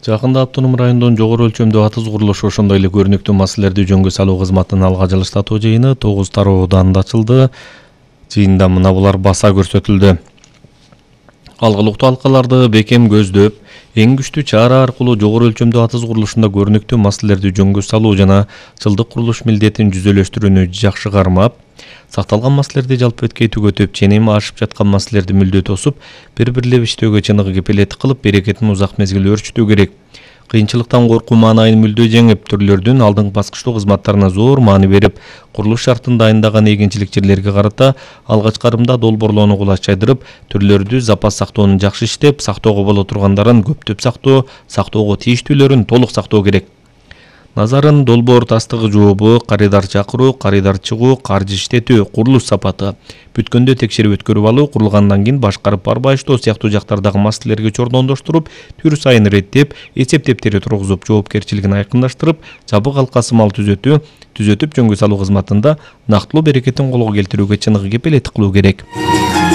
Жакында автоном райондон жогору өлчөмдүү атыз курулушу ошондой эле көрүнүктүү маселелерди жөнгө салуу кызматынын алга жылыштатуу жыйыны 9 тарооданында ачылды. Жыйында мына булар баса көрсөтүлдү. Алгылыктуу алкаларды бекем көздөп, эң күчтүү чара аркылуу жогору өлчөмдүү атыз курулушунда көрүнүктүү маселелерди жөнгө салуу жана жылдык курулуш милдетин жүзөлөштүрүүнү жакшы кармап, сакталган маселелерди жалпы беткей түгөтүп, ченеми ашып жаткан маселелерди мүлдө тосуп, бири-бирлеп иштөөгө чыныгы кепилеттик кылып, берекетин узак мезгил өөрчүтүү керек. Кыйынчылыктан коркуу маанайын мүлдө жеңип, түрлөрдүн алдыңкы баскычтуу кызматтарына зор маани берип, курулуш шартын дайындаган эгинчиликчилерге карата алгачкы арымда долбоорлоону кулач жайдырып, түрлөрдү запас сактоону жакшы иштеп, сактоого боло тургандарын көптөп сактоо, сактоого тийиштүүлөрүн толук сактоо керек. Назарын долбоор тастыгы жообу, карыйдар чакыруу, карыйдар чыгуу, каржы иштетүү, курулуш сапаты, бүткөндө текшерип өткөрүп алуу, курулгандан кийин башкарып барбайыштоо сыяктуу жактардагы маселелерге чордондоштуруп, түр сайын реттеп, эсеп дептери тургузуп, жоопкерчилигин айкындаштырып, жабык алкасы мал түзөтүп жөнгө салуу кызматында нактылуу берекетин колго келтирүүгө чыныгы кепилеттик кылуу керек.